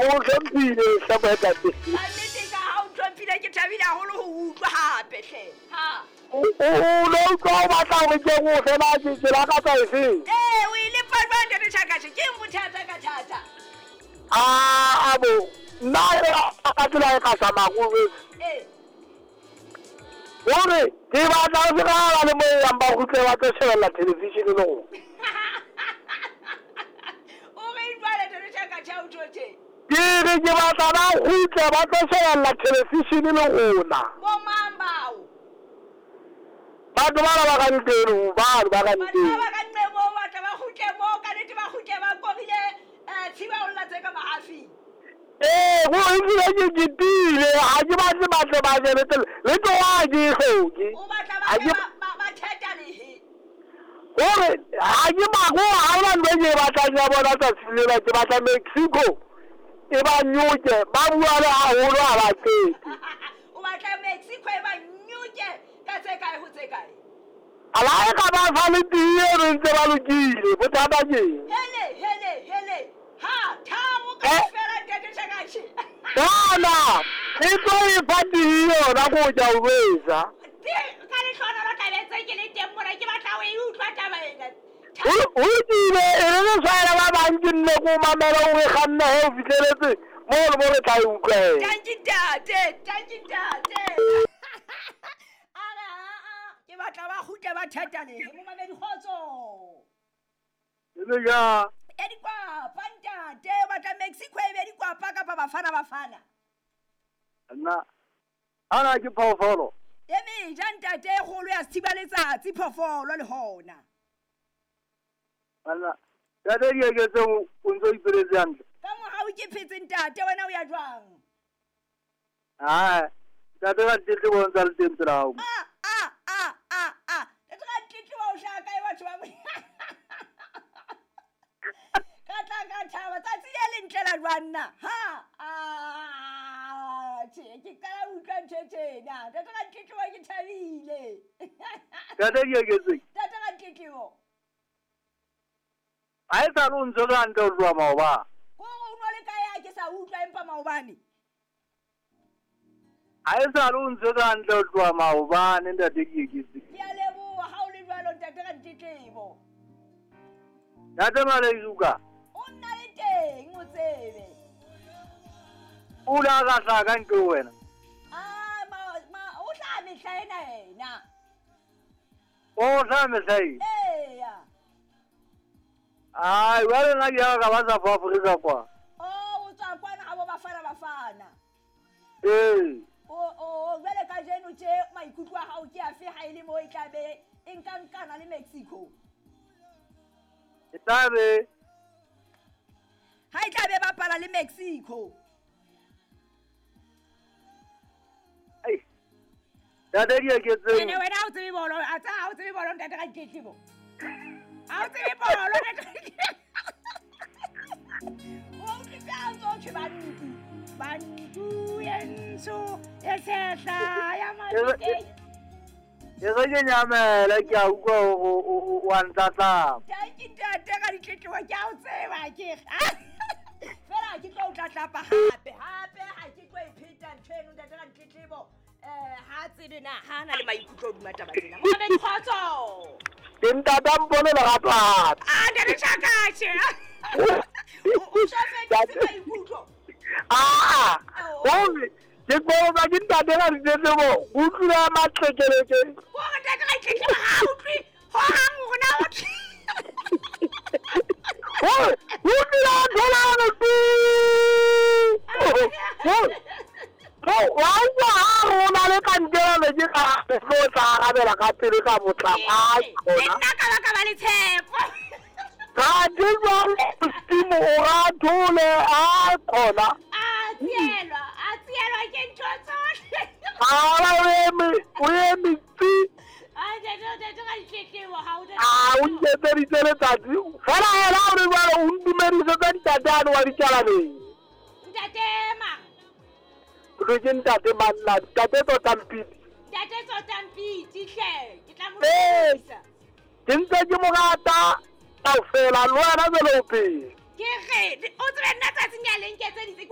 O hlomphile hle moetapele. Ka nnete ka ha o ntlhomphile ke thabile haholo ho utlwa hape hle. Ha. O no utlwa o batla hore ke o fe na ke ke lakatsa efeng? Ee, o e lepa jwang Ntate Chakashe? Ke eng bothata ka thata? A bo nna ka tsela e ka tsamaya ko Ee. Hore ke batla ho se ka le mo yang ba kgutle ba tlo shebella television le rona. O reng jwale Ntate Chakashe ha o tjho tje? Ke re ke batla ba kgutle ba tlo shebella television le rona. Bo mang bao? Batho bana ba ka nqeno, bano ba ka Batho ba nqeno. ba ka nqe moo batla ba kgutle moo, ka nnete ba kgutle ba korile tshiba ho lla tse ka mahafing. Ee, go ebile ke ketile, ga ke batle batle ba je le tsela, le tloga ga ke e hloke. O batla ba Ha tle ke ba theta lehe. Gore ga ke mako, ga ona ntho e ke e batlang ya bona tsatsing lena, ke batla Mexico e ba nyoke, ba bua le haholo ha ba qete. O batla Mexico e ba nyoke ka tse kae ho tse kae? A la e ka ba sa le tee re ntse ba lokile, bothata ke eng? Hele, hele, hele. Ha, tharo Eh? kaofela Ntate Chakashe. Kana, e tlo e fa tee yona ko ja o jwetsa. Ka lehlohonolo tla be ntse ke le teng mona, ke batla ho e utlwa taba ena. Ho lokile, e re re tshwaela ba bang ke nne ko mamela o re kganna he o fihleletse moo le mo re tla e utlwa he. Tanki ntate, tanki ntate. A re a ke batla ba kgutle ba theta lehe, momamedi kgotso. Le ja. E dikwapa ntate, o batla Mexico e be dikwapa kapa Bafana Bafana? Nna ana ke phoofolo. E meja ntate e kgolo ya sethiba letsatsi phoofolo le hona. Anna, ntate di eketse o ntso ipeletse hantle. Ka morao ke phetse ntate, wena o ya jwang? Hai, ntate ka tletlebo o ntsa le teng pela hao. A a a a a. Ntate ka tletlebo o hlaha kae batho ba Ka tla ka thaba tsatsi le lentle la jwang na? Ha a tjhe, ke qala ho utlwa ntho e tjena. Ntate ka tletlebo ke thabile. Ntate di eketse. Ntate ka tletlebo. Ha e sale o ntse re hantle ho tloha maobane. Ko o nwa le kae ha ke sa utlwa empa maobane? Ha e sale o ntse re hantle ho tloha maobane ntate di eketse. Ke a leboha ha o le jwalo ntate ka tletlebo. Ntate Malezuka. O nna le teng o tsebe. O la ka hlaha ka ntle ho wena. Ah, ma o hlaha mehla ena ena. O hlaha mehla ena? Eya. Ai, jwale nna ke ya ka ba South Africa kwa. Oh, o tswa kwana ha bo Bafana Bafana. Ee. O jwale kajeno tje maikutlo a hao ke afe ha e le mo e tla be e nka nkana le Mexico? E tla be. Ha e tla be bapala le Mexico. Ai. Ntate di eketse. Ene wena ha o tsebe bolo, a tsa ha o tsebe bolo ntate ka ditletlebo. Ha o tsebe bolo ntate. O utlwisa ha ntso thwe bantu. Bantu e ntsho e tshehla ya Mafikeng. Ke re ke nyamela ke a utlwa hore o a ntlatlapa. Tanki ntate ka ditletlebo ke a o tseba ke. Fela ha ke tlo o tlatlapa hape. Hape ha ke tlo e pheta ntho eno ntate ka ditletlebo. Ha tsebe na ha na le maikutlo hodima taba tsena. Momamedi kgotso. Ke ntate a mpone lerato hape. Ah, ntate Chakashe. O so fetotse maikutlo. Ah, hore ke kopa ke ntate ka ditletlebo, o utlwile matlekeleke. Hore ntate ka ditletlebo ha utlwe hohang hore na o Hore o utlwile a thola hore tu. Wa utlwa ha rona le kankere ne ke ka tlo tla arabela ka pele ka potlako. Ai, Le nna ka ba ka ba le tshepo. Ka ke jwang Modimo o ra thole, ai khona. A tsielwa ke ntho tsohle. A o eme tsi. Ai, ntate ka ditletlebo ha o A o nketseditse letsatsi. Fela hela o re jwale o ntumedisetse ntate ane wa ditjalaneng. Ntate mang? Re ke ntate Manna, ntate Tsotampiti. Ntate Tsotampiti hle, ke tla mo Ee. dumedisa. Ke ntse ke mo rata kaofela, le wena jwale o phela. Ke re, o tsebe nna tsatsing ya le nketseditse, ke